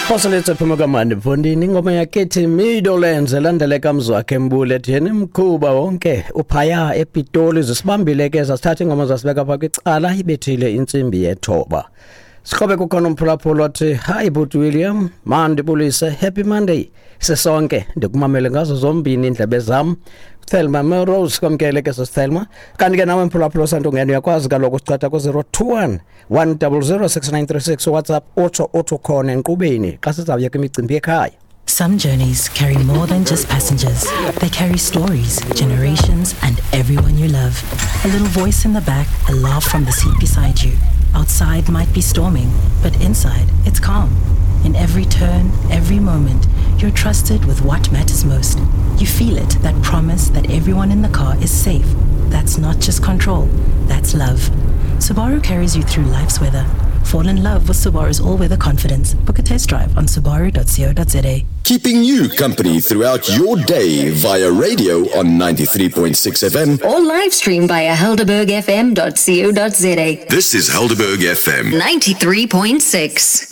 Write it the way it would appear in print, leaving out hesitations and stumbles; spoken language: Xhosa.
Phoseletso phuma kamandi mfondini, ingoma yakethi Meadowlands elandele kamzwakhe Mbule ethi yena mkhuba wonke uphaya ePitoli. Zisibambile ke, zasithatha ingoma zasibeka pha kwicala, ibethile intsimbi yethoba. Sikhobe kukhona umphulaphula othi, "Hi but William, mandibulise, happy Monday sisonke, ndikumamele ngazo zombini indlebe zam." Thelma Melrose, kwamkele ke sisithelma. Kanti ke nawe mphulaphula osantungena uyakwazi kaloku usichatha ku-021 100 6936 WhatsApp, utsho uthi ukhona enkqubeni xa sizawuya kwimicimbi yekhaya. Some journeys carry more than just passengers. They carry stories, generations, and everyone you love. A little voice in the back, a laugh from the seat beside you. Outside might be storming, but inside it's calm. In every turn, every moment, you're trusted with what matters most. You feel it, that promise that everyone in the car is safe. That's not just control, that's love. Subaru carries you through life's weather. Fall in love with Subaru's all-weather confidence. Book a test drive on subaru.co.za. Keeping you company throughout your day via radio on 93.6 FM. Or live stream via helderbergfm.co.za. This is Helderberg FM. 93.6.